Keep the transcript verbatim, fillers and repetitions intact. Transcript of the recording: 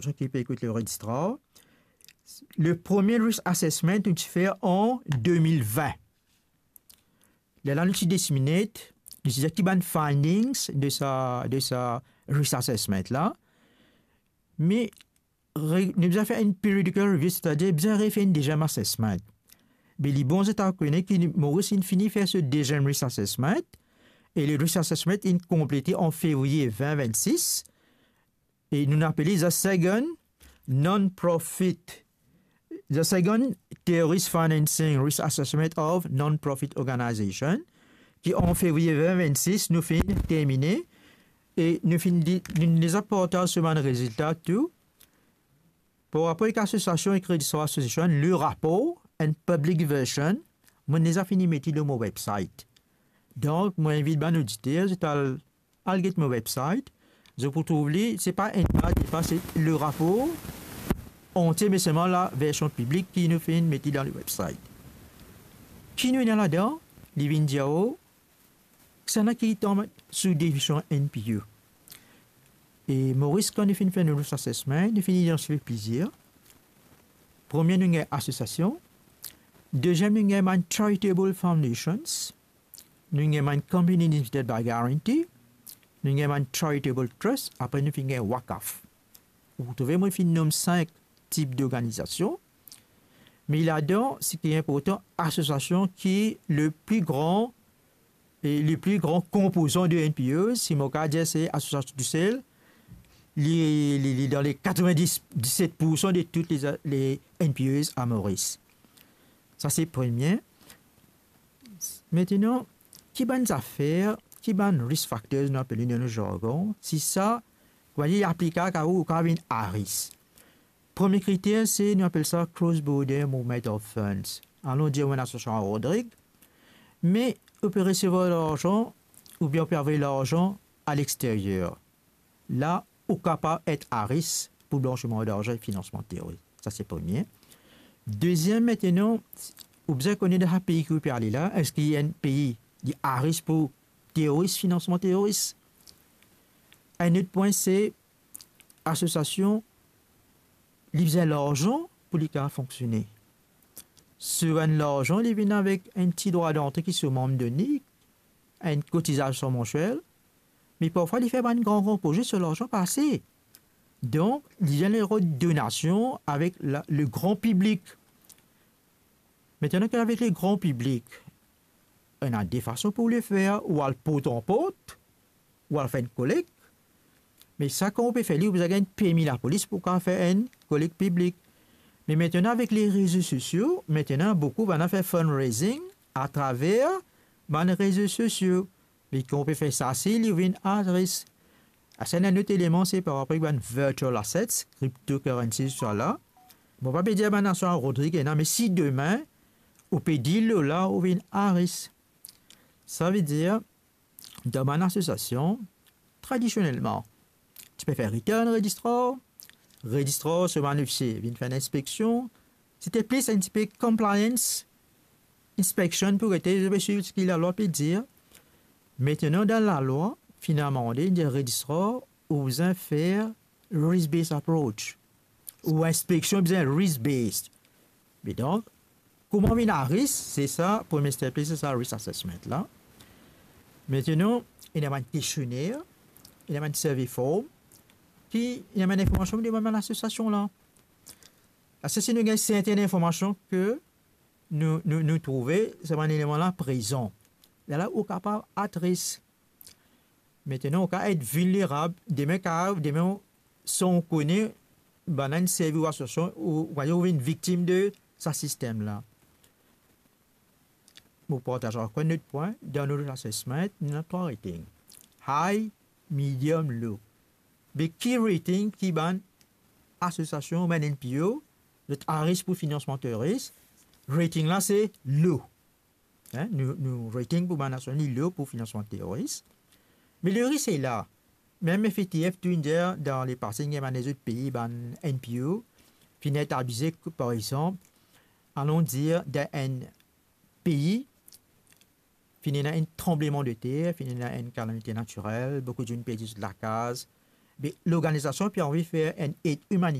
sa ki pe ekout le registrar, le premie risk assessment nou ti fer an de mil vin. Lerla nou ti disseminate, nou ti dir ki bann findings de sa, de sa risk assessment la. Me re-, nou bizin fer enn periodical review, setadir bizin refer enn deziem assessment. Me li bon zot al kone ki Moris inn fini fer so deziem risk assessment, e le risk assessment inn konplete an fevriye vin vinn-sis, e nou apel li the second non-profit, the second terrorist financing risk assessment of non-profit organization, ki an fevriye vin vinn-sis nou finn termine, e nou finn di-, nou deza partaz so bann rezilta tou. Par rapor ek asosiasion, ek Registrar Association, le rapor, enn public version, mo deza fini met li lor mo website. Donk, mo invit bann oditer, zot al, al get mo website, zot pou trouv li, se pa enn paz, se pa, se le rapor antie, me selman la version piblik ki nou finn met li dan le website. Ki nou ena ladan, li vinn dir ou, kisannla ki tonbe sou definision N P O. E Moris, kan nou finn fer nou risk assessment, nou finn idantifie plizier. Premie, nou gagn asosiasion. Deziem, nou gagn bann charitable foundations. Nou gagn bann company limited by guarantee. Nou gagn bann charitable trust. Apre, nou finn gagn wakaf. Ou trouve, mo finn nom sink tip d'organizasion. Me ladan, seki inportan, asosiasion ki le pli gran, e le pli gran konpozan de N P Os, si mo kapav dir se asosiasion tousel, li, li, li dan le katrevin-diset poursan de tout le, le N P Os a Moris. Sa se premie. Aster, ki bann zafer, ki bann risk factors nou apel li dan nou jargon, si sa, koumadir li aplikab a ou, ou kapav vinn a risk. Premie kriter, se, nou apel sa cross-border movement of funds. Alon dir ou enn asosiasion a Rodrig, me ou pe resevwar larzan, oubien ou pe avoy larzan a lexteryer. La, ou kapav et a risk pou blansiman larzan e finansman teroris. Sa se premie. Deziem, aster, ou bizin kone dan sa pei ki ou pe ale la, eski enn pei li a risk pou teroris, finansman teroris? Enn lot pwin, se asosiasion, li bizin larzan pou li kapav fonksione. So enn larzan, li vinn avek enn ti drwa dantre ki so manm donn li, enn kotizasion mansiel, me parfwa li fer bann gran, gran proze, so larzan pa ase. Donk, li vinn rod donasion avek la, le gran piblik. Aster, ki avek le gran piblik, ena de fason pou le fer, ou al port an port, ou al fer enn kolek. Me sa, kan ou pe fer li, ou bizin gagn permi lapolis pou kapav fer enn kolek piblik. Me aster, avek le rezo sosio, aster, boukou bann fer fundraising atraver bann rezo sosio. Me kan ou pe fer sa, si li vinn a risk. Aster, enn lot eleman, se par rapor ek bann virtual assets, cryptocurrencies, tousala. Mo pa pe dir bann asosiasion a Rodrig ena, me si demin, ou pe deal lor la, ou vinn a risk. Savedir, dan bann asosiasion, tradisionelman, ti pe fer return registrar, registrar so bann ofisie vinn fer enn inspeksion, se ti plis enn tipe compliance inspection pou gete, zot pe swiv seki lalwa pe dir. Aster, dan lalwa, finn amande, dir registrar, ou bizin fer risk-based approach. Ou inspeksion bizin risk-based. Me donk, kouma vinn a risk, se sa, premie step, se sa risk assessment la. Aster, ena bann kestionner, ena bann survey form, ki ena bann informasion ki demann bann asosiasion la. Aster, si nou gagn sertin informasion ke nou, nou, nou trouve sa bann eleman la prezan, lerla ou kapav a risk. Aster, ou kapav et vilnerab, demin kapav, demin san ou kone, bann-la inn servi ou asosiasion, ou, ou, ou vinn viktim de sa sistem la. Mo partaz ankor enn lot pwin, dan nou assessment, nou ena trwa rating. High, medium, low. Be ki rating ki bann asosiasion, bann N P O, zot a risk pou finansman teroris, rating la se low. Hein, nou, nou rating pou bann asosiasion li low pou finansman teroris. Me le risk se la. Mem F A T F tou inn dir dan lepase, inn dir bann lezot pei, bann N P O, finn et abize, par exanp, alon dir, dan enn pei, finn ena enn tranblemandeter, finn ena enn kalamite natirel, boukou dimoun perdi zot lakaz, Be lorganizasion pe anvi fer enn ed imaniter